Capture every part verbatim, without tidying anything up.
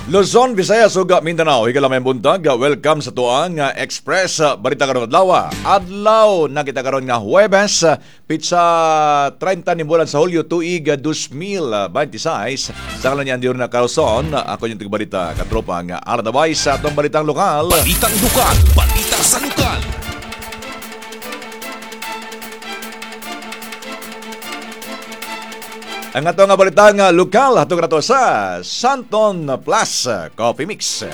Luzon, Visayas ug Mindanao, higala maayong buntag. Welcome sa tuang Express Balita karon adlaw. Adlaw na kita karon nga Huwebes, pitsa trenta ni bulan sa Hulyo tuig dos mil twenty-six. Sa ngalan niyan na Carlson, ako yung tigbalita katropa nga Aradabay sa atong balitang lokal. Balitang lokal, balita sa lokal. Ang ato nga balitang lokal hatong rato sa Santon Plus Coffee Mix.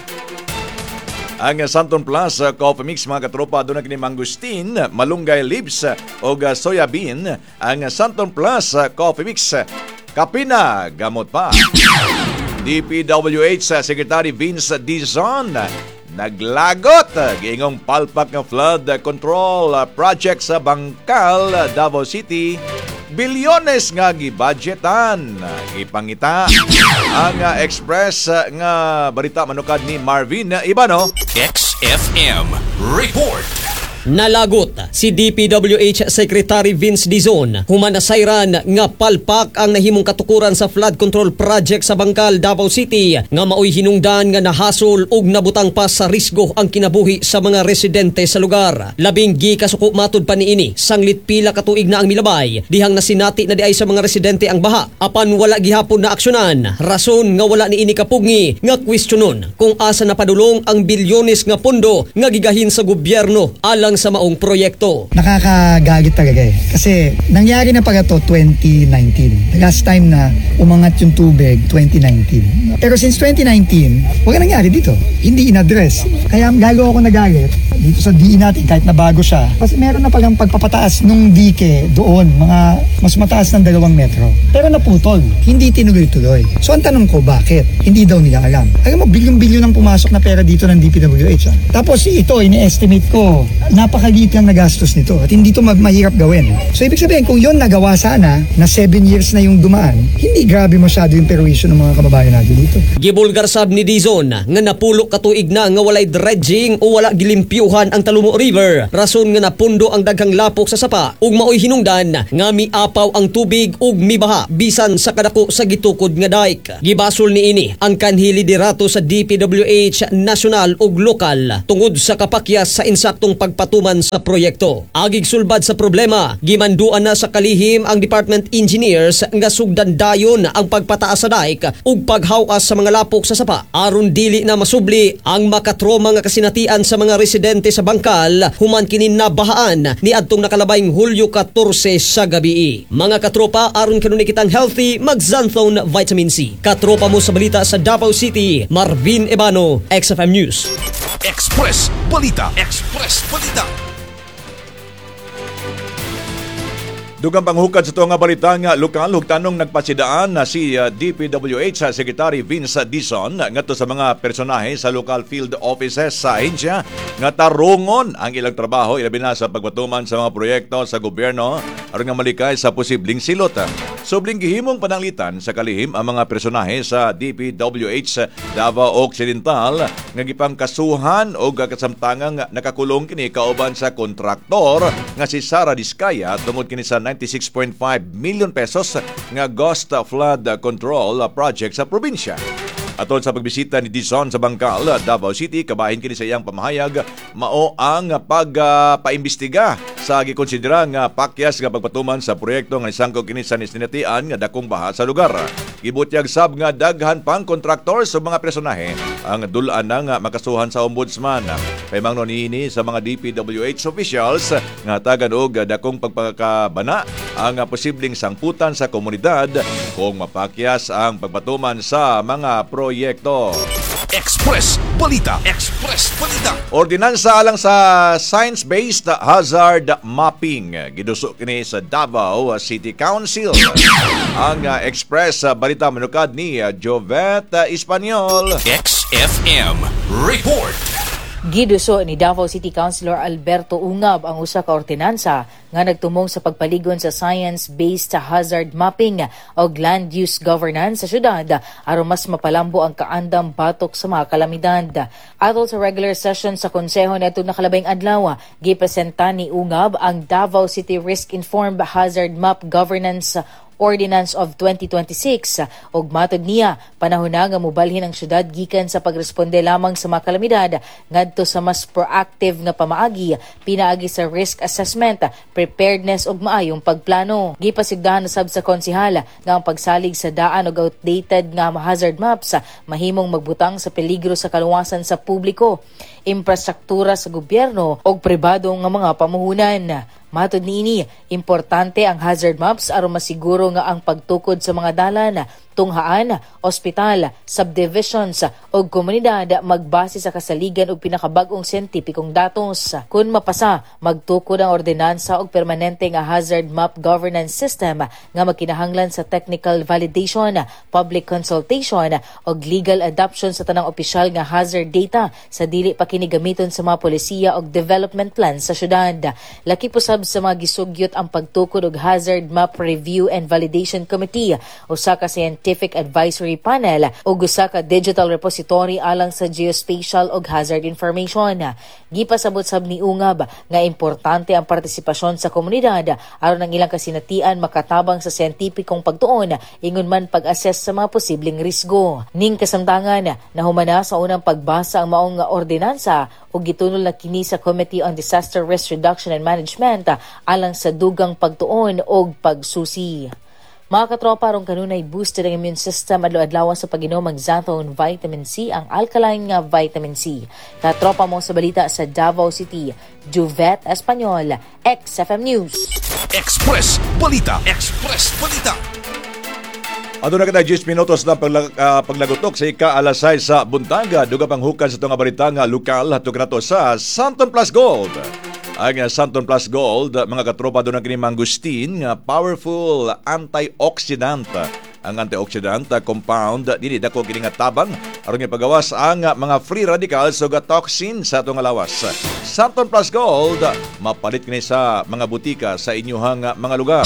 Ang Santon Plus Coffee Mix, mga katropa, doon na kini mangustin, malunggay leaves o soya bean. Ang Santon Plus Coffee Mix, kape na, gamot pa. D P W H Secretary Vince Dizon naglagot giingong palpak nga flood control project sa Bangkal, Davao City, bilyones nga gibudgetan, gipangita. Ang uh, Express uh, nga balita manukad ni Marvin Ibano. X F M Report. Nalagot si D P W H Secretary Vince Dizon human nasayran nga palpak ang nahimong katukuran sa flood control project sa Bangkal, Davao City, nga maoy hinungdan nga nahasol ug nabutang pa sa risgo ang kinabuhi sa mga residente sa lugar. Labing gikasuko matud pa niini, sanglit pila ka tuig na ang milabay dihang nasinati na diay sa mga residente ang baha apan wala gihapon na aksyonan, rason nga wala niini kapugngi nga kwestiyonon kung asa napadulong ang bilyones nga pondo nga gigahin sa gobyerno alang sa maong proyekto. Nakakagalit talaga eh. Kasi nangyari na pala to twenty nineteen. The last time na umangat yung tubig, twenty nineteen. Pero since twenty nineteen, wala nangyari dito. Hindi in-address. Kaya lalo ako nagalit dito sa D E natin kahit na bago siya. Kasi meron na palang pagpapataas nung dike doon, mga mas mataas ng dalawang metro. Pero naputol. Hindi tinuloy-tuloy. So ang tanong ko, bakit? Hindi daw nila alam. Alam mo, bilyon-bilyon ang pumasok na pera dito ng D P W H. Ah. Tapos ito, ini-estimate ko, napakaliit lang nagastos nito at hindi ito ma- mahirap gawin. So ibig sabihin, kung yon nagawa sana, na seven years na yung dumaan, hindi grabe masyado yung perwisyo ng mga kababayan natin dito. Gibulgar sab ni Dizon nga napulo ka tuig na nga walay dredging o wala gilimpyuhan ang Talumo River. Rason nga napundo ang daghang lapok sa sapa ug maoy hinungdan nga miapaw ang tubig ug mibaha bisan sa kadako sa gitukod nga dike. Gibasol niini ang kanhi liderato sa D P W H national ug lokal tungod sa kapakyas sa insaktong pagpatuman sa proyekto. Agig sulbad sa problema, gimanduan na sa kalihim ang department engineers nga sugdan dayon ang pagpataas sa dike ug paghawas sa mga lapok sa sapa aron dili na masubli ang makatroma nga kasinatian sa mga residente sa Bangkal human kini nabahaan ni adtong nakalabayng Hulyo katorse sa gabi. Mga katropa, aron kanunay kitang healthy, mag-Xanthone Vitamin C. Katropa mo sa balita sa Davao City, Marvin Ebano, X F M News. Express Balita. Express Balita. Dugang panghukad sa ito nga balita nga lokal, hugtanong nagpasidaan na si uh, D P W H sa Secretary Vince Dizon ngadto sa mga personahe sa local field offices sa ahensya nga tarungon ang ilang trabaho, ilabi na sa pagpatuman sa mga proyekto sa gobyerno aron nga malikay sa posibleng silot. Subling gihimong pananglitan sa kalihim ang mga personahe sa D P W H Davao Occidental nga gipangkasuhan og kasamtangang nakakulong kini kauban sa kontraktor nga si Sara Diskaya tungod kini sa ninety-six point five million pesos nga ghost flood control project sa probinsya. Atol sa pagbisita ni Dizon sa Bangkal, Davao City, kabahin kini sa iyang pamahayag mao ang pagpaimbestiga sa gikonsidera nga pakyas nga pagpatuman sa proyekto nga nisangko kini sa nisinatian nga dakong baha sa lugar. Gibutyag sab nga daghan pang kontraktor sa mga personahe ang dul-an nga makasuhan sa ombudsman. Paimangno niini sa mga D P W H officials nga tagan og dakong pagpakabana ang posibleng sangputan sa komunidad kung mapakyas ang pagpatuman sa mga proyekto. Express Balita. Express Balita. Ordinansa alang sa science-based hazard mapping giduso kini sa Davao City Council. Ang uh, Express uh, Balita manukad ni uh, Jovet Espanyol. X F M Report. Giduso ni Davao City Councilor Alberto Ungab ang usa ka ordinansa nga nagtumong sa pagpaligon sa science-based hazard mapping o land use governance sa syudad aron mas mapalambo ang kaandam batok sa mga kalamidad. Atol sa regular session sa konseho niadtong nakalabayng adlaw, gipresenta ni Ungab ang Davao City Risk Informed Hazard Map Governance Ordinance of twenty twenty-six ug matod niya, panahon na nga mobalhin ang syudad gikan sa pagresponde lamang sa mga kalamidad ngadto sa mas proactive nga pamaagi pinaagi sa risk assessment, preparedness ug maayong pagplano. Gipasigdahan usab sa konsehal nga ang pagsalig sa daan og outdated nga hazard maps mahimong magbutang sa peligro sa kaluwasan sa publiko, infrastruktura sa gobyerno ug pribado nga mga pamuhunan. Matod niini, importante ang hazard maps aron masiguro nga ang pagtukod sa mga dalan, tunghaan, ospital, subdivisions ug komunidad magbase sa kasaligan ug pinakabag-ong siyentipikong datos. Kung mapasa, magtukod ang ordinansa og permanente nga hazard map governance system nga magkinahanglan sa technical validation, public consultation ug legal adoption sa tanang opisyal nga hazard data sa dili pa kini gamiton sa mga polisiya ug development plan sa syudad. Lakip usab sa mga gisugyot ang pagtukod og Hazard Map Review and Validation Committee, usa ka scientific advisory panel ug usa ka digital repository alang sa geospatial ug hazard information. Gipasabot sab ni Ungab nga importante ang partisipasyon sa komunidad aron ang ilang kasinatian makatabang sa siyentipikong pagtuon ingon man pag-assess sa mga posibleng risgo. Ning kasamtangan, nahumana sa unang pagbasa ang maong ordinansa ug gitunol na kini sa Committee on Disaster Risk Reduction and Management alang sa dugang pagtuon og pagsusi. Mga katropa, aron kanunay boosted ang immune system, adlaw-adlaw sa pag-inom ang Xanthone Vitamin C, ang alkaline nga vitamin C. Katropa mo sa balita sa Davao City, Juvet Espanyol, X F M News. Express Balita. Express Balita. Aduna kita ten minutos na paglag, uh, paglagutok sa ika alas sais sa buntaga. Duga pang hukan sa itong balita nga lokal, hatog nato sa Santon Plus Gold. Ang uh, Santon Plus Gold, mga katropa, doon ang kini mangustin nga powerful antioxidant. Ang antioxidant compound dili dako kini nga tabang aron nga pagawas ang mga free radicals ug toxin sa atong lawas. Santon Plus Gold, mapalit kini sa mga butika sa inyuhang mga lugar.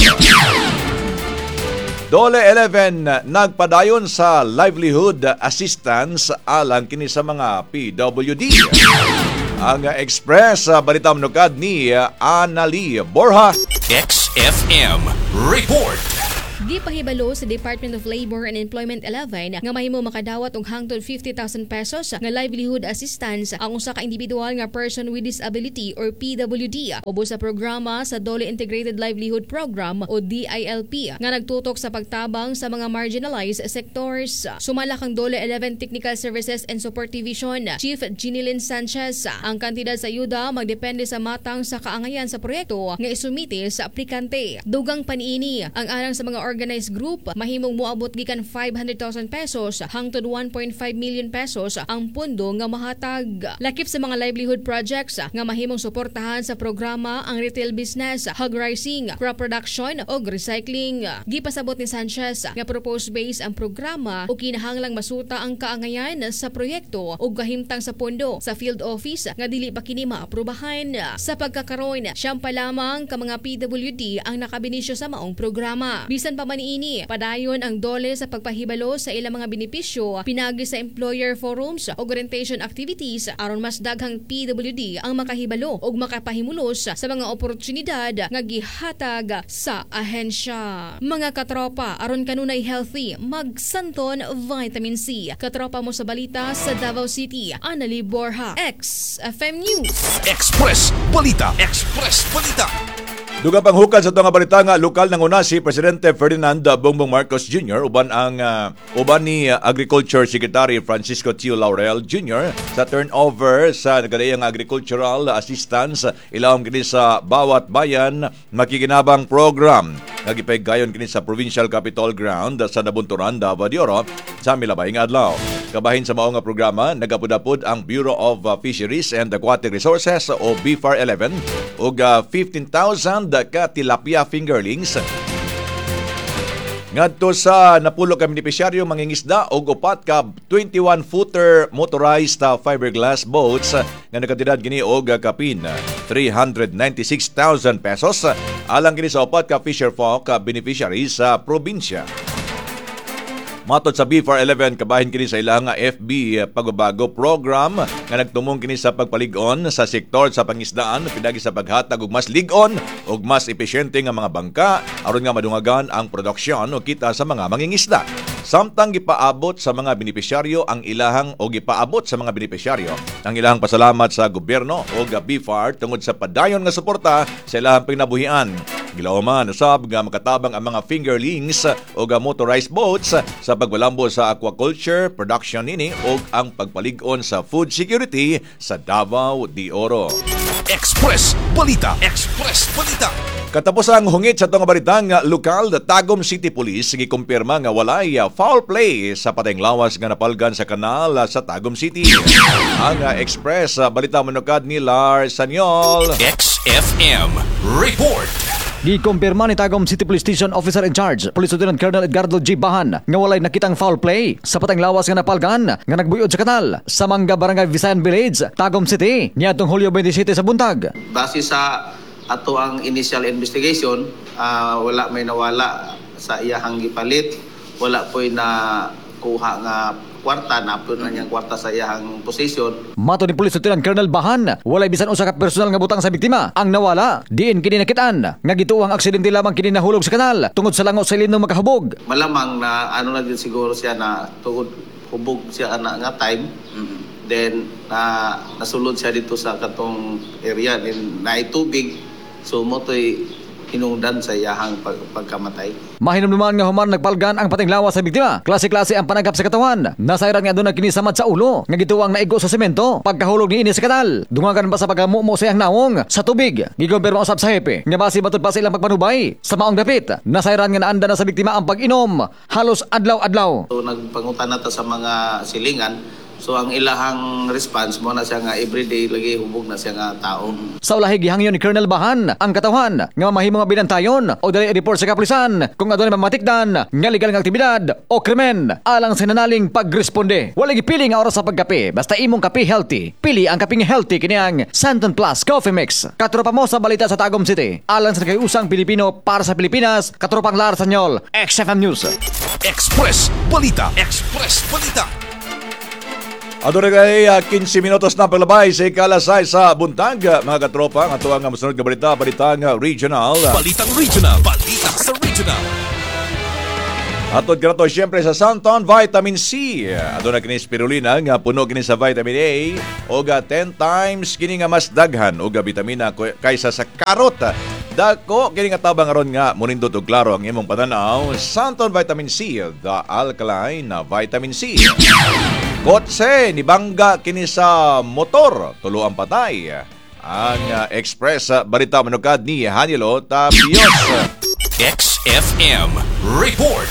Dole eleven nagpadayon sa livelihood assistance alang kini sa mga P W D. Ang Express Balita manukad ni Anali Borja. X F M Report. Gipahibalo sa Department of Labor and Employment eleven nga mahimo makadawat og hangtod fifty thousand pesos nga livelihood assistance ang usa ka individual nga person with disability or P W D ubos sa programa sa DOLE Integrated Livelihood Program o D I L P nga nagtutok sa pagtabang sa mga marginalized sectors. Sumala kang DOLE eleven Technical Services and Support Division Chief Ginilyn Sanchez, ang kantidad sa ayuda magdepende sa matang sa kaangayan sa proyekto nga isumite sa aplikante. Dugang paniini, ang alang sa mga organized group mahimong moabot gikan five hundred thousand pesos hangtod one point five million pesos ang pundo nga mahatag. Lakip sa mga livelihood projects nga mahimong suportahan sa programa ang retail business, hog raising, crop production ug recycling. Gipasabot ni Sanchez nga propose base ang programa ug kinahanglang masuta ang kaangayan sa proyekto ug kahimtang sa pondo sa field office nga dili pa kini maaprubahan. Sa pagkakaroon, siyam pa lamang ka mga P W D ang nakabenepisyo sa maong programa. Bisan pa man niini, padayon ang DOLE sa pagpahibalo sa ilang mga benepisyo pinaagi sa employer forums ug orientation activities aron mas daghang P W D ang makahibalo ug makapahimulos sa mga oportunidad nga gihatag sa ahensya. Mga katropa, aron kanunay healthy, mag-Santon Vitamin C. Katropa mo sa balita sa Davao City, Anali Borja, X F M News. Express Balita. Express Balita. Duga pang hukad sa itong balita nga lokal, nanguna si Presidente Ferdinand Bongbong Marcos Junior uban ang uh, uban ni Agriculture Secretary Francisco Tio Laurel Junior sa turnover sa nagkadaiyang agricultural assistance ilawom kini sa Bawat Bayan Makikinabang Program nga gipaygayon kini sa Provincial Capitol Ground sa Nabunturan, Davao de Oro sa milabay nga adlaw. Kabahin sa mao nga programa, nagapud-apod ang Bureau of Fisheries and Aquatic Resources o B F A R eleven ug fifteen thousand ka tilapia fingerlings ngadto sa napulo ka benepisyaryo mangingisda og upat ka twenty-one-footer motorized fiberglass boats nga nakantidad kini og kapin three hundred ninety-six thousand pesos alang kini sa upat ka fisher folk beneficiaries sa probinsya. Matod sa B F A R eleven, kabahin kini sa ilang F B Pagbabago Program nga nagtumong kini sa pagpalig-on sa sektor sa pangisdaan pinagi sa paghatag og mas lig-on ug mas epesyente nga mga bangka aron nga madungagan ang produksyon o kita sa mga mangingisda. Samtang gipaabot sa mga benepisyaryo ang ilahang o gipaabot sa mga benepisyaryo ang ilahang pasalamat sa gobyerno o B F A R tungod sa padayon nga suporta sa ilahang panginabuhian. Gilauman usab nga makatabang ang mga fingerlings o motorized boats sa pagbalambo sa aquaculture production nini o ang pagpalig-on sa food security sa Davao de Oro. Express Balita. Express Balita. Katapos ang hungit sa itong balitang lokal, Tagum City Police gikumpirma nga walay foul play sa patayng lawas nga napalgan sa kanal sa Tagum City. Ang Express Balita, manukad ni Lars Sanyol. X F M Report. Gikumpirma ni Tagum City Police Station Officer in Charge, Police Lieutenant Colonel Edgardo G. Bahan, nga walay nakitang foul play sa patayng lawas nga napalgan nga nagbuyod sa kanal sa Mangga, Barangay Visayan Village, Tagum City, niadtong Hulyo twenty-seven sa buntag. Base sa ato ang initial investigation, ah, wala may nawala sa iyahang gipalit, wala po'y na kuha nga kwarta, napon na niyang kwarta sa iyahang posisyon. Matod ni Police Lieutenant Colonel Bahan, walay bisan usa ka personal nga butang sa biktima ang nawala. Diin kini nakitaan nga gituohang aksidente lamang kini nahulog sa kanal tungod sa lango sa ilim ng makahubog. Malamang na ano na din siguro siya na tungod hubog siya ana nga time. Then na nasulod siya dito sa katong area, then naay tubig, so mao to'y hinungdan sa iyahang pag, pagkamatay. Mahinumduman nga human nagpalgan ang patayng lawas sa biktima, klase-klase ang panagap sa katawan. Nasayran nga aduna kini samad sa ulo nga gituohang naigo sa semento pagkahulog niini sa kanal. Dungagan pa sa pagkamumo sa iyang nawong sa tubig. Gikumpirma usab sa hepe nga base matud pa sa ilang pagpanubay sa maong dapit, nasayran nga naanda na sa biktima ang pag-inom halos adlaw-adlaw. So nagpangutana ta sa mga silingan. So ang ilahang response mao na siya nga everyday lagi hubog na siya nga tao. Sa ulahi, gihangyo ni Colonel Bahan ang katawhan nga mahimo nga binantayon o dali report sa kapulisan kung adunay mamatikdan nga legal nga aktibidad o krimen alang sa nanaling pagresponde. Wala gipili nga oras sa pagkape, basta imong kape healthy. Pili ang kapeng healthy, kini ang Santon Plus Coffee Mix. Katropa mo sa balita sa Tagum City. Alang sa usang Pilipino para sa Pilipinas, katropang Lar Sanyol, X F M News. Express Balita. Express Balita. Aduna kay uh, kinse minutos na paglabay sa ikalas sais sa buntag, mga katropa, ang atuang nga mosunod nga balita, balitang regional. Balitang Regional. Balita sa Regional. Atod kanato siyempre sa Santon Vitamin C. Aduna kini spirulina nga puno kini sa vitamin A o ten times kini nga mas daghan og vitamina kaysa sa karot. Dako kini nga tabang aron nga munindot og klaro ang imong pananaw. Santon Vitamin C, the alkaline na vitamin C. Kotse nibangga kini sa motor, tulo ang patay. Ang uh, Express uh, Balita, manukad ni Hanilo Tabios. X F M Report.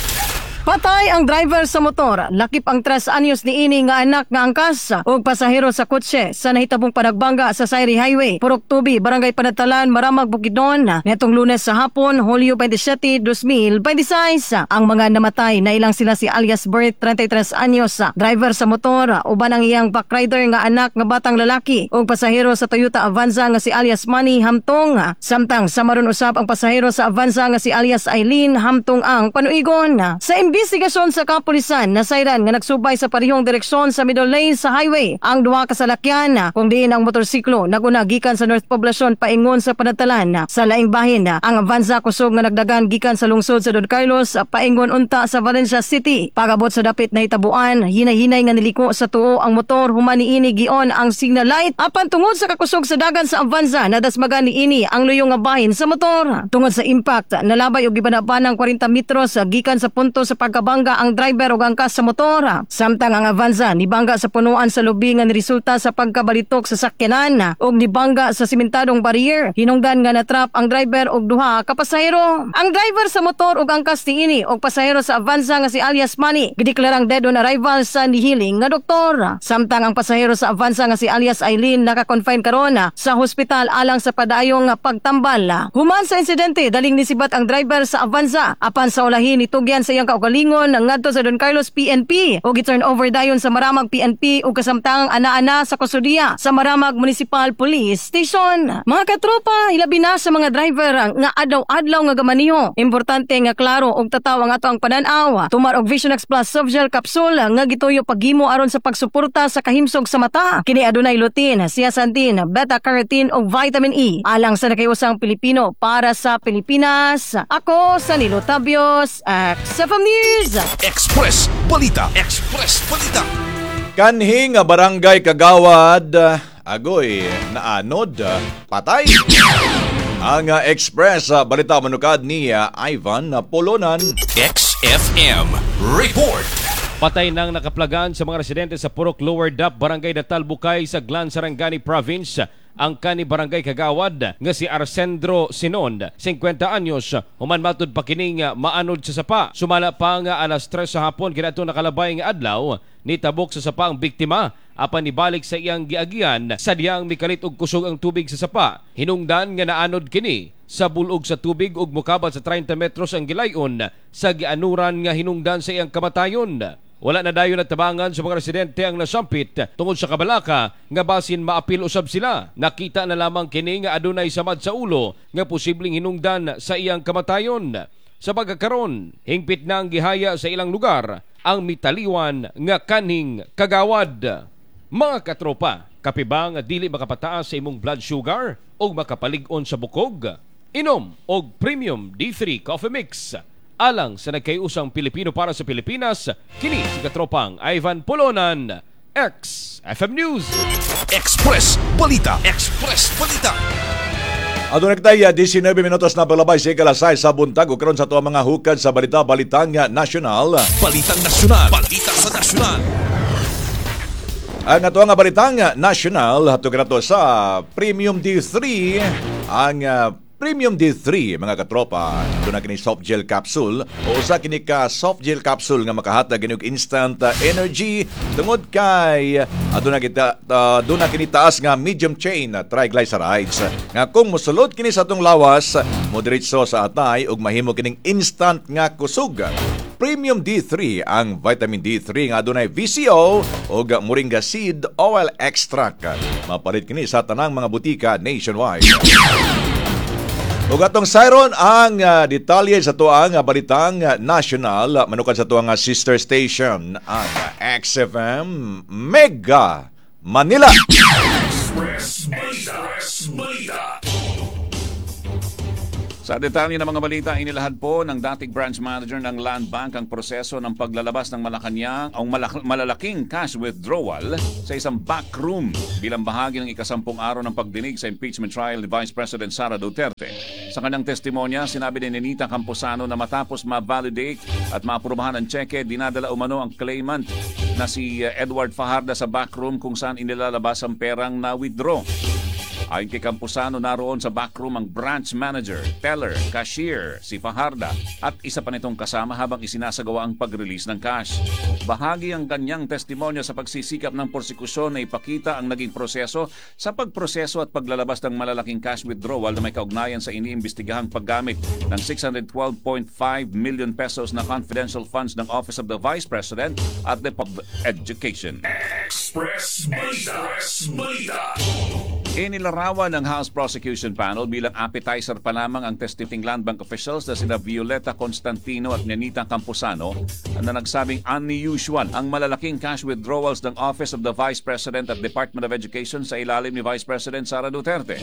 Patay ang driver sa motor, lakip ang tres anyos ni ini nga anak nga angkas ug pasahero sa kotse sa nahitabong panagbangga sa Sayri Highway, Purok Tubi, Barangay Panadtalan, Maramag, Bukidnon, netong Lunes sa hapon, Hulyo twenty-seven, twenty twenty-six. Ang mga namatay na ilang sila si alias Bert, trentay tres anyos, driver sa motor, uban ang iyang backrider nga anak nga batang lalaki ug pasahero sa Toyota Avanza nga si alias Manny Hamtong. Samtang sa maron usab ang pasahero sa Avanza nga si alias Eileen Hamtong ang panuigon. Sa imbestigasyon sa kapulisan, nasayran nga nagsubay sa parehong direksyon sa middle lane sa highway ang duha ka salakyan, kung diin ang motorsiklo naguna gikan sa North Poblacion paingon sa Panadtalan. Sa laing bahin, ang Avanza kusog nga nagdagan gikan sa lungsod sa Don Carlos paingon unta sa Valencia City. Pagabot sa dapit na hitabuan, hinay-hinay nga niliko sa tuo ang motor human niini gion ang signal light, apan tungod sa kakusog sa dagan sa Avanza, nadasmagan niini ang luyong nga bahin sa motor. Tungod sa impact, nalabay og gibanabanang kwarenta metros gikan sa punto sa pagkabangga ang driver ug angkas sa motor. Samtang ang Avanza nibangga sa punuan sa lubi nga niresulta sa pagkabalitok sa sakyanan ug nibangga sa simentadong barrier. Hinungdan nga natrap ang driver ug duha ka pasahero. Ang driver sa motor ug angkas niini ug pasahero sa Avanza nga si alias Manny gideklarang dead on arrival sa nihiling nga doktor. Samtang ang pasahero sa Avanza nga si alias Eileen naka-confine karon sa hospital alang sa padayong pagtambal. Human sa insidente, daling nisibat ang driver sa Avanza, apan sa ulahi nitugyan sa iyang kaugalingon. kaugalingon ngadto sa Don Carlos P N P ug gi-turn over dayon sa Maramag P N P ug kasamtangang ana-ana sa kustodiya sa Maramag Municipal Police Station. Mga katropa, hilabi na sa mga driver nga adlaw-adlaw nga gamaniho. Importante nga klaro og tataw ang ato ang panan-aw. Tumar og Visionex Plus Softgel Capsule nga gituyo paghimo aron sa pagsuporta sa kahimsog sa mata. Kini adunay lutein, zeaxanthin, beta-carotene ug vitamin E. Alang sa nakausang Pilipino para sa Pilipinas. Ako sa Nilo Tabios, X F M News. Express Balita. Express Balita. Kanhi nga barangay kagawad, agoy, naanod, patay. Ang uh, Express uh, Balita manukad ni uh, Ivan Polonan. X F M Report. Patay nang nakaplagan sa mga residente sa Purok Lower Dap, Barangay Datal Bukay sa Glan Sarangani Province ang kani barangay kagawad nga si Arsendro Sinon, singkwenta anyos, human matud pa kining maanod sa sapa. Sumala pa nga alas tres sa hapon kinato nakalabay nga adlaw, nitabok sa sapa ang biktima apan nibalik sa iyang giagian sa diyang mikalit og kusog ang tubig sa sapa. Hinungdan nga naanod kini sa bulog sa tubig ug mokabat sa trenta metros ang gilayon sa gianuran nga hinungdan sa iyang kamatayon. Wala na dayon natabangan sa mga residente ang nasampit tungod sa kabalaka nga basin maapil usab sila. Nakita na lamang kini nga adunay samad sa ulo nga posibleng hinungdan sa iyang kamatayon. Sa pagkakaron, hingpit na ang gihaya sa ilang lugar ang mitaliwan nga kanhing kagawad. Mga katropa, kape ba nga dili makapataas sa imong blood sugar o makapalig-on sa bukog? Inom og Premium D three Coffee Mix. Alang sa nagkayusang Pilipino para sa Pilipinas, kini si katropang Ivan Polonan, X F M News. Express Balita. Express Balita. Aduna kitay nineteen minutos na palabay sa ikalas sais sa buntag ug karon sa ato mga hukad sa balita, balitang nasyonal. Balitang nasyonal. Balita sa nasyonal. Ang ato nga balitang nasyonal hatod kanato sa Premium D three. Ang uh, Premium D three, mga katropa, aduna kini soft gel capsule o usa kini ka soft gel capsule nga makahatag kini og instant uh, energy tungod kay aduna kita uh, aduna kini taas nga medium chain triglycerides nga kung mosulod kini sa atong lawas, modiretso sa atay ug mahimo kining instant nga kusog. Premium D three, ang vitamin D three nga adunay V C O ug moringa seed oil extract. Mapalit kini sa tanang mga butika nationwide. Ug atong sayron ang uh, detalye sa tuang uh, balitang uh, national manukad sa tuang uh, sister station, ang X F M Mega Manila. Express Balita. Express Balita. Sa detalye ng mga balita, inilahad po ng dating branch manager ng Land Bank ang proseso ng paglalabas ng Malacanang ang malak- malalaking cash withdrawal sa isang backroom bilang bahagi ng ikasampung araw ng pagdinig sa impeachment trial ni Vice President Sara Duterte. Sa kanyang testimonya, sinabi ni Nenita Camposano na matapos ma-validate at maaprubahan ang tseke, dinadala umano ang claimant na si Edward Fajarda sa backroom kung saan inilalabas ang perang na-withdraw. Ayon kay Camposano, naroon sa backroom ang branch manager, teller, cashier, si Fajarda at isa pa nitong kasama habang isinasagawa ang pag-release ng cash. Bahagi ang kanyang testimonya sa pagsisikap ng prosekusyon na ipakita ang naging proseso sa pagproseso at paglalabas ng malalaking cash withdrawal na may kaugnayan sa iniimbestigahang paggamit ng six hundred twelve point five million pesos na confidential funds ng Office of the Vice President at the Department of Education. Express Balita. Express Balita. Inilarawan ng House Prosecution Panel bilang appetizer pa lamang ang testifying Land Bank officials na sina Violeta Constantino at Nenita Camposano na nagsabing unusual ang malalaking cash withdrawals ng Office of the Vice President at Department of Education sa ilalim ni Vice President Sara Duterte.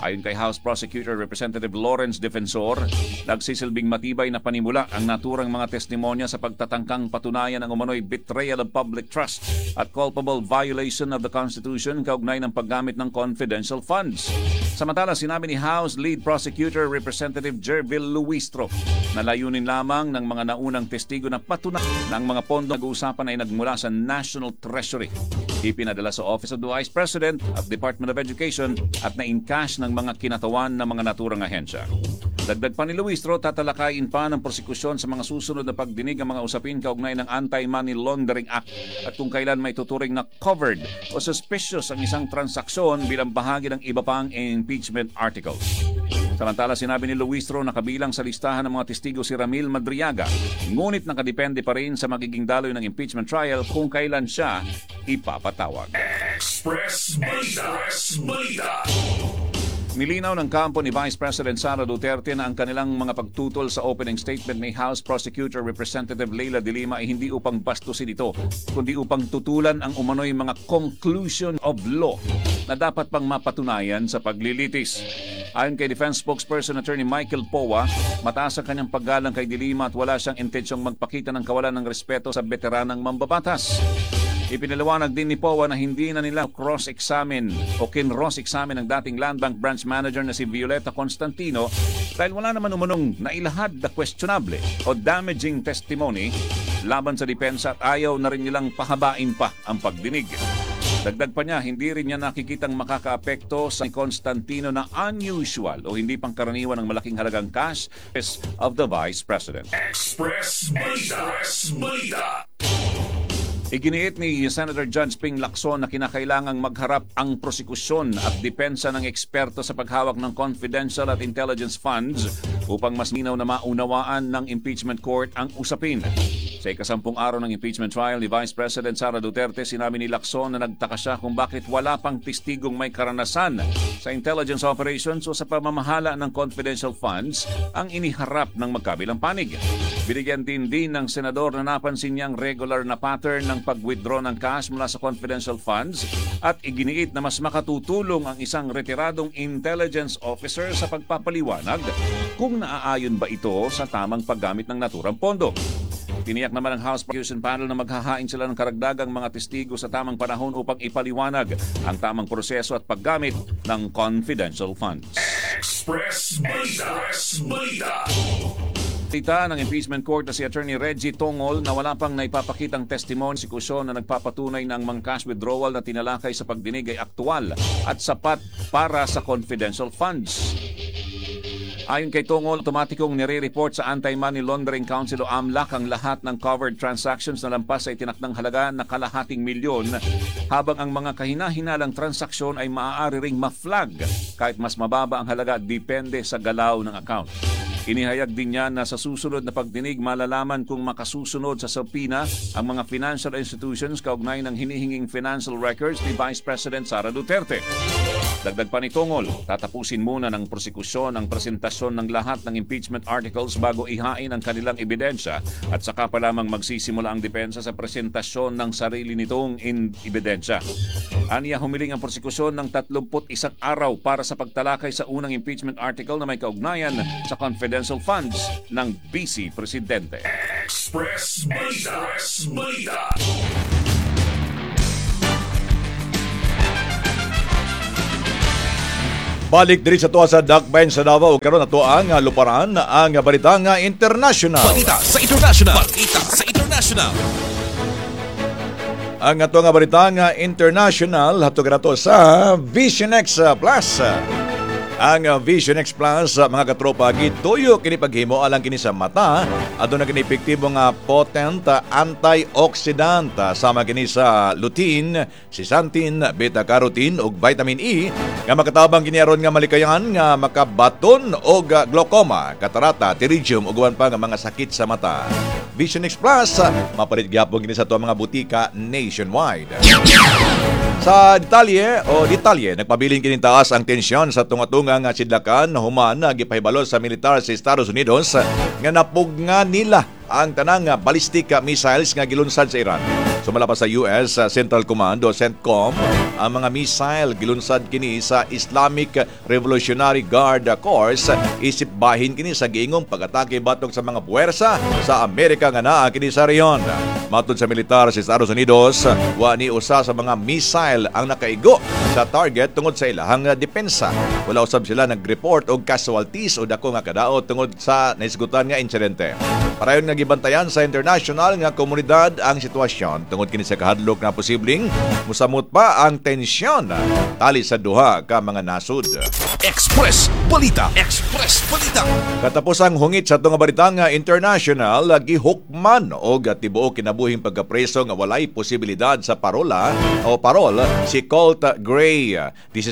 Ayon kay House Prosecutor Representative Lawrence Defensor, nagsisilbing matibay na panimula ang naturang mga testimonya sa pagtatangkang patunayan ang umano'y betrayal of public trust at culpable violation of the Constitution kaugnay ng paggamit ng confidential funds. Samantala, sinabi ni House Lead Prosecutor Representative Gerville Luistro na layunin lamang ng mga naunang testigo na patunayan na ang mga pondo nag-uusapan ay nagmula sa National Treasury, ipinadala sa Office of the Vice President at Department of Education at na-encash ng mga kinatawan ng mga naturang ahensya. Dagdag pa ni Luistro, tatalakayin pa ng prosekusyon sa mga susunod na pagdinig ang mga usapin kaugnay ng Anti-Money Laundering Act at kung kailan may tuturing na covered o suspicious ang isang transaksyon bilang bahagi ng iba pang impeachment articles. Samantala, sinabi ni Luistro na kabilang sa listahan ng mga testigo si Ramil Madriaga. Ngunit nakadepende pa rin sa magiging daloy ng impeachment trial kung kailan siya ipapatawag. Express Balita. Express Balita. Nilinaw ng kampo ni Vice President Sara Duterte na ang kanilang mga pagtutol sa opening statement ni House Prosecutor Representative Leila de Lima ay hindi upang bastusin ito, kundi upang tutulan ang umano'y mga conclusion of law na dapat pang mapatunayan sa paglilitis. Ayon kay Defense Spokesperson Attorney Michael Poa, mataas ang kanyang paggalang kay de Lima at wala siyang intensyong magpakita ng kawalan ng respeto sa veteranang mambabatas. Ipinaliwanag din ni Poa na hindi na nila cross-examine o kinross-examine ang dating Land Bank branch manager na si Violeta Constantino dahil wala naman umanong nailahad na questionable o damaging testimony laban sa depensa at ayaw na rin nilang pahabain pa ang pagdinig. Dagdag pa niya, hindi rin niya nakikitang makakaapekto sa Constantino na unusual o hindi pangkaraniwan ang malaking halagang cash of the Vice President. Express Balita. Express Balita. Iginiit ni Senator Judge Ping Lacson na kinakailangang magharap ang prosekusyon at depensa ng eksperto sa paghawak ng confidential at intelligence funds upang mas linaw na maunawaan ng impeachment court ang usapin. Sa ikasampung araw ng impeachment trial ni Vice President Sara Duterte, sinabi ni Lacson na nagtaka siya kung bakit wala pang testigong may karanasan sa intelligence operations o sa pamamahala ng confidential funds ang iniharap ng magkabilang panig. Binigyan din din ng senador na napansin niyang regular na pattern ng pag-withdraw ng cash mula sa confidential funds at iginiit na mas makatutulong ang isang retiradong intelligence officer sa pagpapaliwanag kung naaayon ba ito sa tamang paggamit ng naturang pondo. Tiniyak naman ng House Prosecution Panel na maghahain sila ng karagdagang mga testigo sa tamang panahon upang ipaliwanag ang tamang proseso at paggamit ng confidential funds. Express Balita. Express Balita. Tita ng impeachment court na si Attorney Reggie Tongol na wala pang naipapakitang testimony sa prosekusyon na nagpapatunay na ang mga cash withdrawal na tinalakay sa pagdinig ay aktual at sapat para sa confidential funds. Ayon kay Tongol, otomatikong nire-report sa Anti-Money Laundering Council o AMLAC ang lahat ng covered transactions na lampas sa itinakdang halaga na kalahating milyon, habang ang mga kahina-hinalang transaksyon ay maaari ring ma-flag kahit mas mababa ang halaga depende sa galaw ng account. Inihayag din niya na sa susunod na pagdinig malalaman kung makasusunod sa subpoena ang mga financial institutions kaugnay ng hinihinging financial records ni Vice President Sara Duterte. Dagdag pa ni Tongol, tatapusin muna ng prosekusyon ang presentasyon ng lahat ng impeachment articles bago ihain ang kanilang ebidensya at saka pa lamang magsisimula ang depensa sa presentasyon ng sarili nitong in ebidensya. Aniya, humiling ang prosekusyon ng tatlumput isang araw para sa pagtalakay sa unang impeachment article na may kaugnayan sa confidential funds ng Vice Presidente. Express Balita. Express Balita. Balik diri sa tuwa sa Dakbayan sa Davao, karon ato ang luparan ang balita nga international. Balita sa international. Balita sa international. Ang ato nga balita nga international hatog nato sa Vision X Plus. Ang Vision X Plus, mga katropa, gituyo kini paghimo alang kini sa mata. Aduna kini epektibo nga potent antioxidant sama kini sa lutein, zeaxanthin, beta-carotene ug vitamin E nga makatabang kini aron nga malikayan nga makabaton og glaucoma, katarata, pterygium ug uban pa nga mga sakit sa mata. Vision X Plus mapalit gyapon kini sa tuwa mga butika nationwide. Sa detalye o detalye, nagpabilin kini taas ang tensyon sa tunga-tunga nga sidlakan human gipahibalo sa militar sa Estados Unidos nga napugna nila ang tanang ballistic missiles nga gilunsad sa Iran. Sumala pa sa U S Central Command o CENTCOM, ang mga missile gilunsad kini sa Islamic Revolutionary Guard Corps isip bahin kini sa giingong pag-atake batok sa mga puwersa sa Amerika nga naa kini sa rehiyon. Matod sa militar sa Estados Unidos, wa ni usa sa mga missile ang nakaigo sa target tungod sa ilahang depensa. Wala usab sila nag-report og casualties o dako nga kadaot tungod sa naisgutan nga insidente. Parayon nga gibantayan sa international nga komunidad ang sitwasyon tungod kini sa kahadlok na posibleng musamot pa ang tensyon tali sa duha ka mga nasod. Express Balita. Express Balita. Katapusang hungit sa atong balita nga international, gihukman og tibuok kinabuhing pagkapreso nga walay posibilidad sa parola o parol si Colt Gray.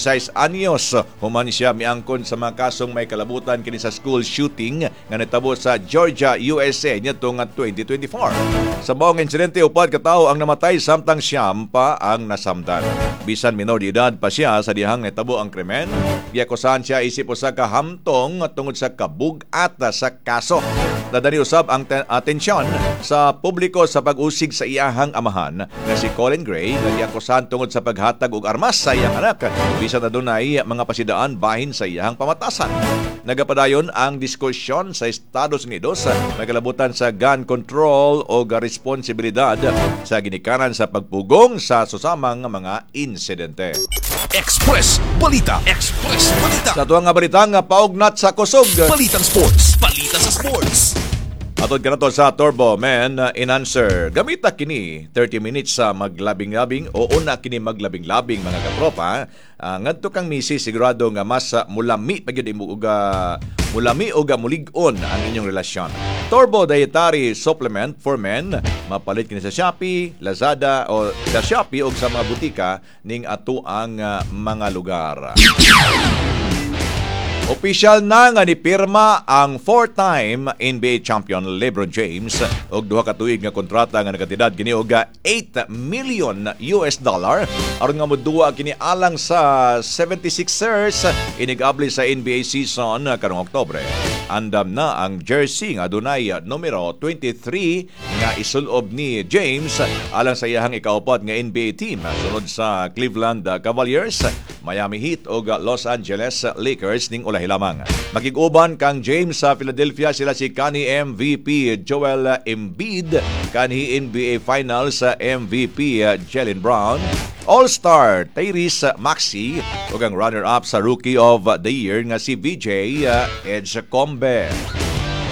labing-sais anyos human siya miangkon sa mga kasong may kalabutan kini sa school shooting nga nitabo sa Georgia, U S A niadtong twenty twenty-four. Sa maong insidente, upat ka tawo ang namatay samtang siyam pa ang nasamdan. Bisan minor de edad pa siya sa dihang nitabo ang krimen, giakusahan siya isip usa ka hamtong tungod sa kabug-at sa kaso. Nadani usab ang ten- atensyon sa publiko sa pag-usig sa iyahang amahan nga si Colin Gray nga giakusahan tungod sa paghatag og armas sa iyang anak bisan adunay mga pasidaan bahin sa iyahang pamatasan. Nagapadayon ang diskusyon sa Estados Unidos may kalabutan sa gun control o responsibilidad sa ginikanan sa pagpugong sa susamang mga insidente. Express Balita. Express Balita. Sa tuwang nga balita nga paugnat sa kusog. Balitang Sports. Balita sa Sports. Atod kanato sa Turbo Man Enhancer. Gamita kini thirty minutes sa maglabing-labing o una kini maglabing-labing, mga katropa. Uh, ngadto kang misis, sigurado nga mas uh, mulami pa gyud imo og uh, mulami og mulig-on ang inyong relasyon. Turbo Dietary Supplement for Men, mapalit kini sa Shopee, Lazada o sa Shopee o sa mga butika ning ato ang uh, mga lugar. Opisyal na nga nipirma ang four-time N B A champion LeBron James og duha ka tuig nga kontrata nga nakatidad kini og eight million U S dollar aron nga moduwa kini alang sa seventy-sixers inig-abli sa N B A season karong Oktubre. Andam na ang jersey nga adunay numero twenty-three nga isulob ni James alang sa iyahang ikaupat nga N B A team sunod sa Cleveland Cavaliers, Miami Heat ug Los Angeles Lakers ning ulahi lamang. Makig-uban kang James sa Philadelphia sila si kanhi M V P Joel Embiid, kanhi N B A Finals M V P Jaylen Brown, All-Star Tyrese Maxey ug ang runner-up sa Rookie of the Year nga si V J Edgecombe.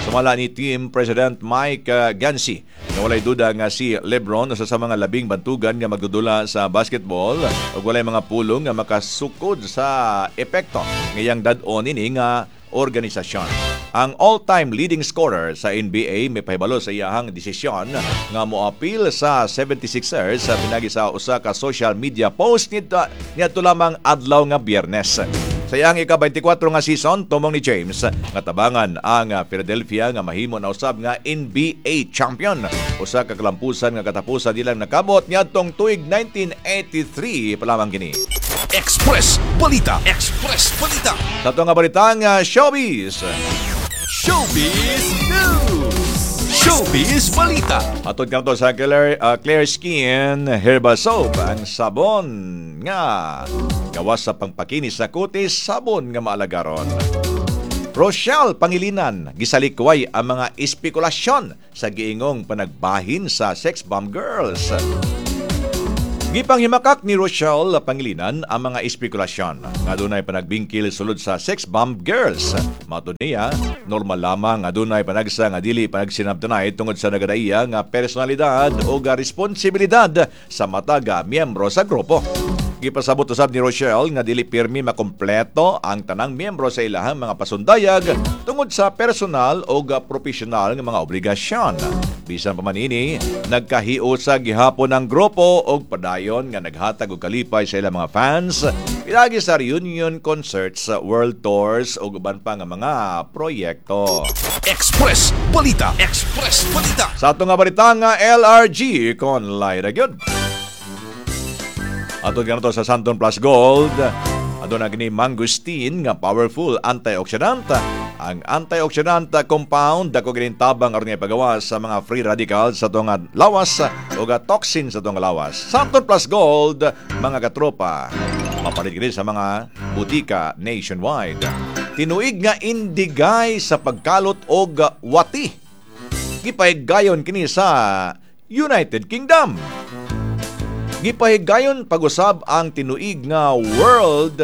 Sumala ni Team President Mike uh, Gansey na walay duda nga si LeBron usa sa mga labing bantugan nga magdudula sa basketball ug walay mga pulong nga makasukod sa epekto ngayang dad-on ini nga organisasyon. Ang all-time leading scorer sa N B A may pahibalo sa iyahang desisyon nga moapil sa seventy-sixers sa pinagi sa usa ka social media post nito niadto lamang adlaw nga Biyernes. Sa iyang ika-twenty-four nga season, tumong ni James nga tabangan ang Philadelphia nga mahimo na usab nga N B A champion. Usa ka kalampusan nga katapusan nilang nakabot niadtong tuig nineteen eighty-three pa lamang kini. Express Balita. Express Balita. Sa ato nga balitang uh, showbiz. Showbiz News. Showbiz Balita. Atod kanato sa Clear, uh, Clear Skin Herbal Soap, ang sabon nga gawas sa pangpakinis sa kutis, sabon nga maalagaron. Rochelle Pangilinan, gisalikway ang mga espekulasyon sa giingong panagbahin sa Sex Bomb Girls. Gipanghimakak ni Rochelle Pangilinan ang mga espekulasyon nga dunay panagbingkil sulod sa Sex Bomb Girls. Matod niya, normal lamang nga dunay panagsa nga dili panagsinabtanay tungod sa nagadaiya nga personalidad o responsibilidad sa matag miyembro sa grupo. Gipasabot usab ni Rochelle nga dili pirmi makompleto ang tanang miyembro sa ilahang mga pasundayag tungod sa personal o profesional nga mga obligasyon. Bisan pa man ini, nagkahiusa gihapon ang grupo og padayon nga naghatag og kalipay sa ilang mga fans pinaagi sa reunion concerts, world tours ug uban pa nga mga proyekto. Express Balita. Express Balita. Sa ato nga balita nga L R G kon Lyra gyud. Atod kanato sa Santon Plus Gold, aduna kini mangosteen nga powerful antioxidant. Ang antioxidant compound dako kining tabang aron nga ipagawas sa mga free radicals sa atong lawas o ga toxin sa atong lawas. Santon Plus Gold, mga katropa, mapalit kini sa mga butika nationwide. Tinuig nga indigay sa pagkalot og wati. Gipahigayon kini sa United Kingdom. Gipahigayon pag-usab ang tinuig nga World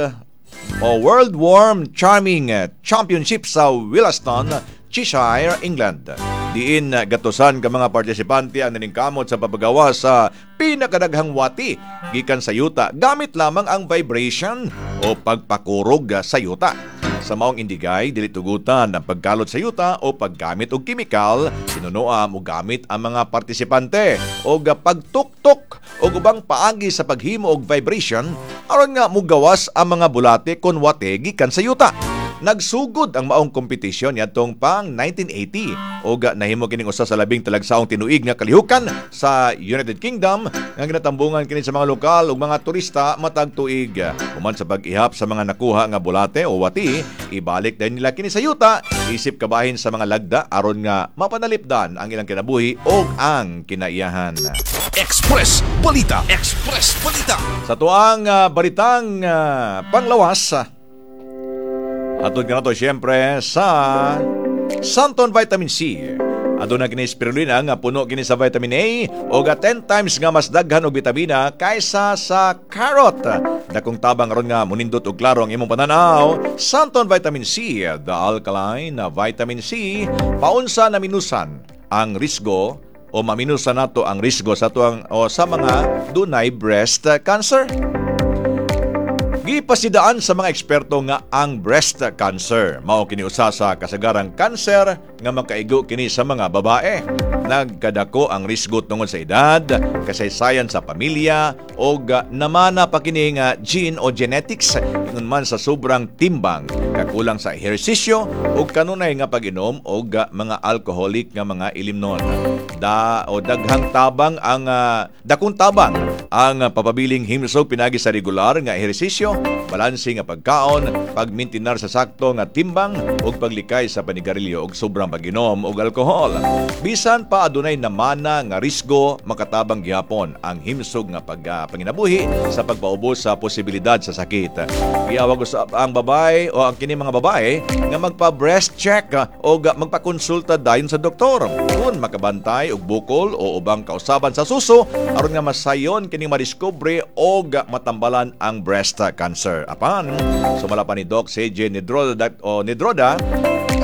o World Worm Charming Championship sa Willaston, Cheshire, England. Diin gatusan ka mga partisipante ang naningkamot sa pagpagawa sa pinakadaghang wati gikan sa yuta gamit lamang ang vibration o pagpakurog sa yuta. Sa maong indigay, dili tugutan ang pagkalot sa yuta o paggamit og kimikal, sinunoa mo gamit ang mga partisipante og pagtuktok og ubang paagi sa paghimo og vibration aron nga mugawas ang mga bulate kon wate gikan sa yuta. Nagsugod ang maong kompetisyon niadtong pang nineteen eighty og nahimo kining usa sa labing talagsaong tinuig nga kalihukan sa United Kingdom nga ginatambungan kini sa mga lokal ug mga turista matag tuig. Human sa pag-ihap sa mga nakuha nga bulate o wati, ibalik din nila kini sa yuta isip kabahin sa mga lagda aron nga mapanalipdan ang ilang kinabuhi ug ang kinaiyahan. Express Balita. Express Balita. Sa tuang uh, balitang uh, panglawas, atod ka na to siyempre sa Santon Vitamin C. Aduna kini spirulina nga puno kini sa vitamin A o ga ten times nga mas daghan og bitamina kaysa sa carrot. Dakong tabang aron nga munindot og klaro ang imong pananaw. Santon Vitamin C, the alkaline na vitamin C, paunsa na minusan ang risgo o maminusan nato ang risgo sa tuang o sa mga dunay breast cancer. Gipasidaan sa mga eksperto nga ang breast cancer mao kini usa sa kasagarang kanser nga makaigo kini sa mga babae. Nagkadako ang risgo tungod sa edad, kasaysayan sa pamilya og namana pa kini nga gene o genetics ingon man sa sobrang timbang, kakulang sa ehersisyo ug kanunay nga pag-inom og mga alcoholic nga mga ilimnon. Da o daghang tabang ang uh, dakong tabang ang uh, papabiling himsog pinagi sa regular nga ehersisyo, balanse nga pagkaon, pagmintinar sa sakto nga timbang ug paglikay sa panigarilyo ug sobrang pag-inom og alkohol. Bisan pa adunay namana nga risgo, makatabang gihapon ang himsog nga pag, uh, panginabuhi sa pagpaubos sa posibilidad sa sakit. Giawag usab ang babae o ang kini mga babae nga magpa-breast check uh, o magpakonsulta dayon sa doktor kung makabantay og bukol o ubang kausaban sa suso aron nga masayon kini madiskubre og matambalan ang breast cancer. Apan, sumala pa ni Doc C J Nidroda, o Nidroda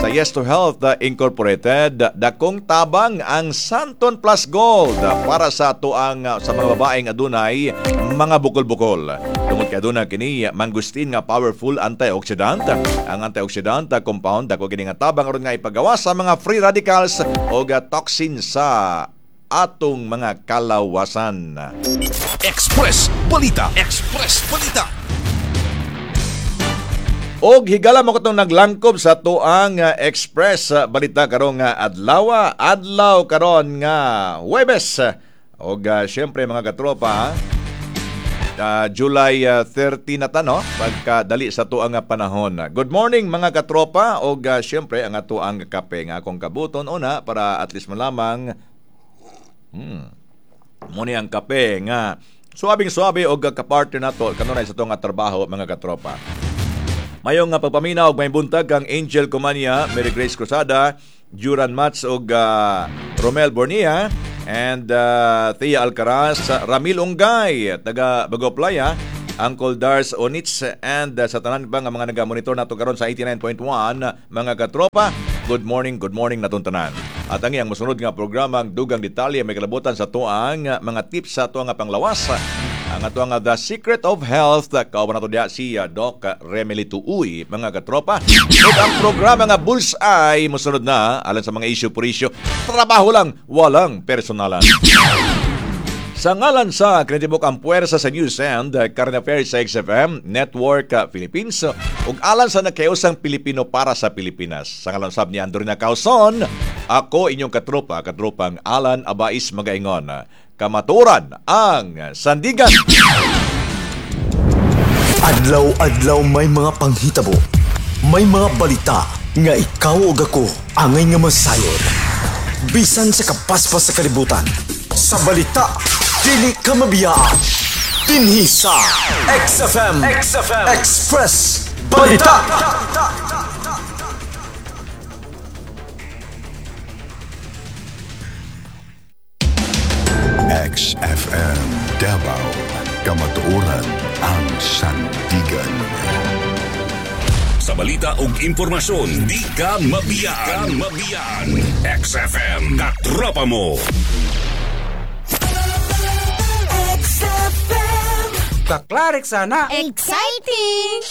sa Yes to Health Incorporated, dakong tabang ang Santon Plus Gold para sa tuang sa mga babaeng adunay mga bukol-bukol. Tungod kay aduna kini mangustin nga powerful antioxidant. Ang antioxidant compound dako kini nga tabang aron nga ipagawas sa mga free radicals o toxin sa atong mga kalawasan. Express Balita. Express Balita. Og higala mo katong naglangkob sa tuang uh, Express uh, Balita karong uh, adlaw, adlaw karon nga Huwebes. Og uh, syempre mga katropa, uh, July uh, thirty na ta, no? Pagkadali sa tuang uh, panahon. Good morning mga katropa. Og uh, syempre ang atuang kape nga akong kabuton una para at least malamang hmm, muni ang kape nga suabing-suabe og kapartner nato kanunay sa tuang trabaho mga katropa. Mayong nga pagpaminaw og may buntag kang Angel Comania, Mary Grace Cruzada, Duran Mats og uh, Romel Bornia and uh, Thea Alcaraz, Ramil Ungay, taga Bagoplaya, Uncle Dars Onitz and uh, sa tanan pa nga mga nagamonitor nato karon sa eighty-nine point one mga katropa. Good morning, good morning natong tanan. At ang iyang mosunod nga programa ang Dugang Detalye may kalabutan sa tuang mga tips sa tuang panglawas. Ang ato ang The Secret of Health, kauban nato diha si Doc Remelito Uy, mga katropa. Ug ang programa nga Bullseye mosunod na alang sa mga issue por issue, trabaho lang, walang personalan. Sa ngalan sa Krinitibok ang puwersa sa News and Current Affairs sa X F M Network Philippines ug alang sa nagkausang Pilipino para sa Pilipinas. Sa ngalan sab ni Andrina Causon, ako inyong katropa, katropang Alan Abais magaingon. Kamaturan ang sandigan. Adlaw-adlaw may mga panghitabo, may mga balita nga ikaw ug ako angay nga masayon. Bisan sa kapaspas sa kalibutan, sa balita dili ka mabiyaan. Dinhi sa X F M, X F M Express Balita. X F M Davao, kamatuoran ang sandigan. Sa balita ug impormasyon, di ka mabiyaan. Di ka mabiyaan. X F M, katropa mo. X F M. Kaklarik sana. Exciting!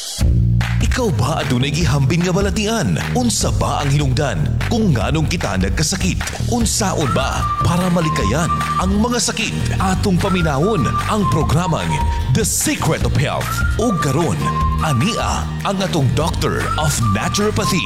Ikaw ba adunay gihambin nga balatian? Unsa ba ang hinungdan kung nganong kita nagkasakit? Unsaon ba para malikayan ang mga sakit? Atong paminawon ang programang The Secret of Health. O karon, ania ang atong Doctor of Naturopathy.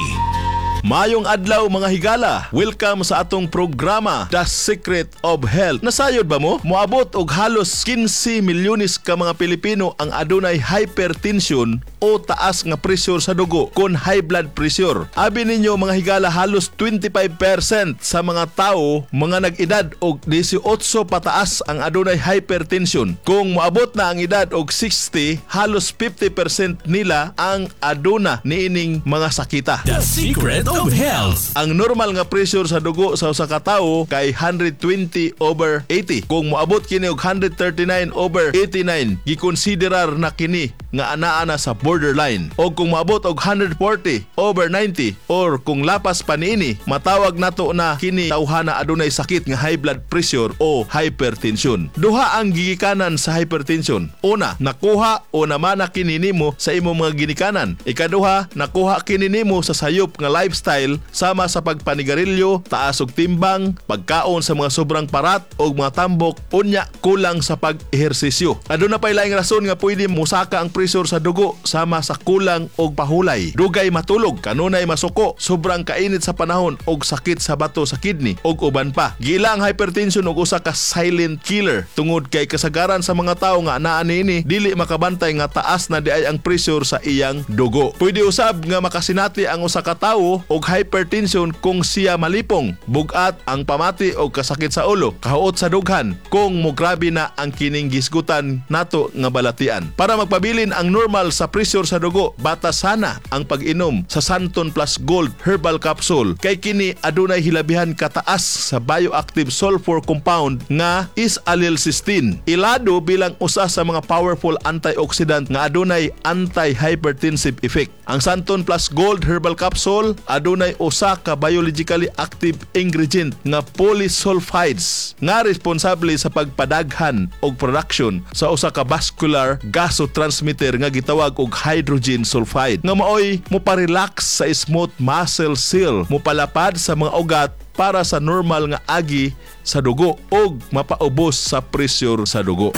Maayong adlaw, mga higala. Welcome sa atong programa, The Secret of Health. Nasayod ba mo? Moabot og halos kinse milyones ka mga Pilipino ang adunay hypertension o taas nga pressure sa dugo kon high blood pressure. Abi ninyo, mga higala, halos twenty-five percent sa mga tao mga nag-edad og labing-walo pataas ang adunay hypertension. Kung moabot na ang edad og sixty, halos fifty percent nila ang aduna niining mga sakita. The Secret of Health. Ang normal nga pressure sa dugo sa usa ka tawo kay one hundred twenty over eighty. Kung moabot kini og one hundred thirty-nine over eighty-nine, gikonsiderar na kini nga anaa na sa borderline. O kung moabot og one hundred forty over ninety or kung lapas pa niini, matawag nato na kini tawhana adunay sakit nga high blood pressure o hypertension. Duha ang gigikanan sa hypertension. Una, nakuha o namana kini nimo sa imong mga ginikanan. Ikaduha, nakuha kini nimo sa sayop nga lifestyle sama sa pagpanigarilyo, taas og timbang, pagkaon sa mga sobrang parat o mga tambok, unya kulang sa pag-ehersisyo. Aduna pay laing rason nga pwede musaka ang pressure sa dugo sama sa kulang og pahulay, dugay matulog, kanunay masuko, sobrang kainit sa panahon og sakit sa bato sa kidney og uban pa. Giila ang hypertension og usa ka silent killer tungod kay kasagaran sa mga tawo nga anaa niini dili makabantay nga taas na diay ang pressure sa iyang dugo. Pwede usab nga makasinati ang usa ka tawo og hypertension kung siya malipong, bugat ang pamati og kasakit sa ulo, kahuot sa dughan kung mograbe na ang kining gisgutan nato nga balatian. Para magpabilin ang normal sa pressure sa dugo, batasana ang pag-inom sa Santon Plus Gold Herbal Capsule kay kini adunay hilabihan kataas sa bioactive sulfur compound nga S-allylcysteine. Ilado bilang usa sa mga powerful antioxidant nga adunay anti-hypertensive effect. Ang Santon Plus Gold Herbal Capsule adunay usa ka biologically active ingredient nga polysulfides nga responsable sa pagpadaghan og production sa usa ka vascular gasotransmitter nga gitawag og hydrogen sulfide nga maoy moparelax sa smooth muscle cell, mopalapad sa mga ugat para sa normal nga agi sa dugo ug mapaubos sa pressure sa dugo.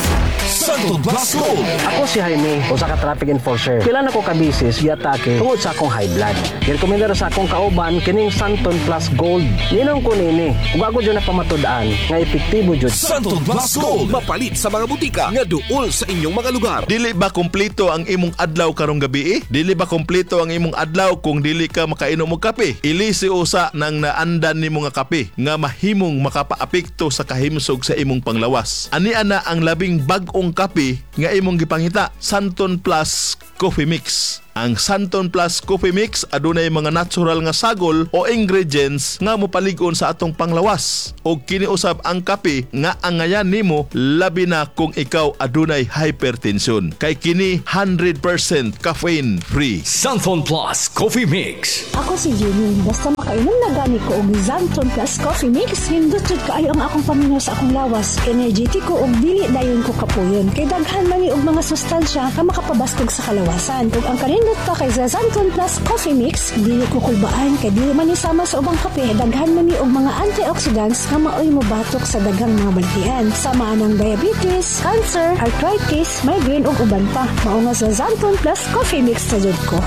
Santon Plus Gold. Ako si Jaime, usa ka traffic enforcer. Pila na ko ka beses giatake tungod sa akong high blood. Girekomendar sa akong kauban kining Santon Plus Gold. Niinom ko nini. Ug ako jud napamatud-an nga epektibo jud. Santon Plus Gold. Mapalit sa mga butika nga duol sa inyong mga lugar. Dili ba kumpleto ang imong adlaw karong gabi? Dili ba kumpleto ang imong adlaw kung dili ka makainom og kape? Ilisi usa nang naandan nimo nga kape nga mahimong makapaapekto sa kahimsog sa imong panglawas. Ani ana ang labing bag-ong kape nga imong gipangita, Santon Plus Coffee Mix. Ang Santon Plus Coffee Mix adunay mga natural nga sagol o ingredients nga mopalig-on sa atong panglawas. Og kini usab ang kape nga angayan nimo, labi na kung ikaw adunay hypertension. Kay kini one hundred percent caffeine free. Santon Plus Coffee Mix. Ako si Jeanine. Basta makainom na gani ko og Xanthone Plus Coffee Mix, nindot jud kaayo ang akong paminaw sa akong lawas. Energetic ko og dili dayon ko kapuyon. Kay daghan man ni og mga sustansya nga makapabaskog sa kalawasan. Ug ang kanindot pa kay sa Xanthone Plus Coffee Mix, dili ko kulbaan kay dili man ni sama sa ubang kape. Daghan man ni og mga antioxidants nga maoy mobatok sa daghang mga balatian. Sama ang diabetes, cancer, arthritis, migraine ug uban pa. Mao nga sa Xanthone Plus Coffee Mix sa jud ko.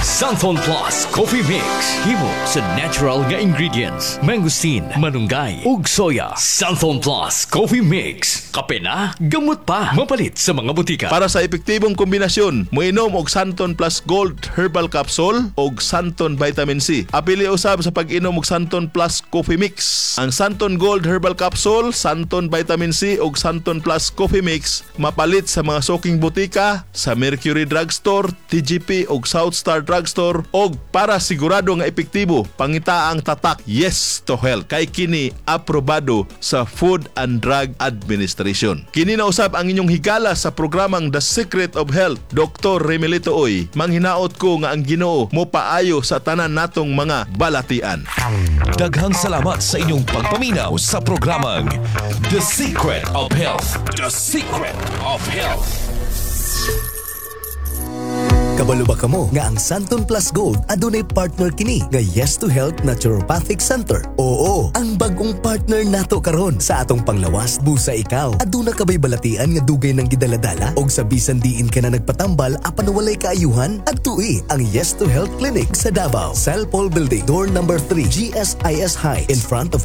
Santon Plus Coffee Mix. Himo sa natural nga ingredients. Mangosteen, malunggay, ug soya. Santon Plus Coffee Mix. Kape na, gamot pa. Mapalit sa mga butika. Para sa epektibong kombinasyon, moinom og Santon Plus Gold Herbal Capsule og Santon Vitamin C. Apili usab sa pag-inom og Santon Plus Coffee Mix. Ang Santon Gold Herbal Capsule, Santon Vitamin C og Santon Plus Coffee Mix mapalit sa mga suking butika, sa Mercury Drugstore, T G P og South Star Drugstore, og para sigurado nga epektibo, pangita ang tatak Yes to Health kay kini aprobado sa Food and Drug Administration. Kini na usab ang inyong higala sa programang The Secret of Health, Doctor Remilito Oy. Ang hinaot ko nga ang Ginoo mo paayo sa tanan natong mga balatian. Daghang salamat sa inyong pagpaminaw sa programang The Secret of Health. The Secret of Health. Kabalo ba kamo nga ang Xanthone Plus Gold adunay partner kini nga Yes to Health Naturopathic Center? Oo, ang bagong partner nato karon sa atong panglawas. Busa ikaw, aduna ka bay balatian nga dugay nang gidaladala og sa bisan diin ka na nagpatambal apan walay kaayuhan? Adtui ang Yes to Health Clinic sa Davao, Cell Building, door number three, G S I S High, in front of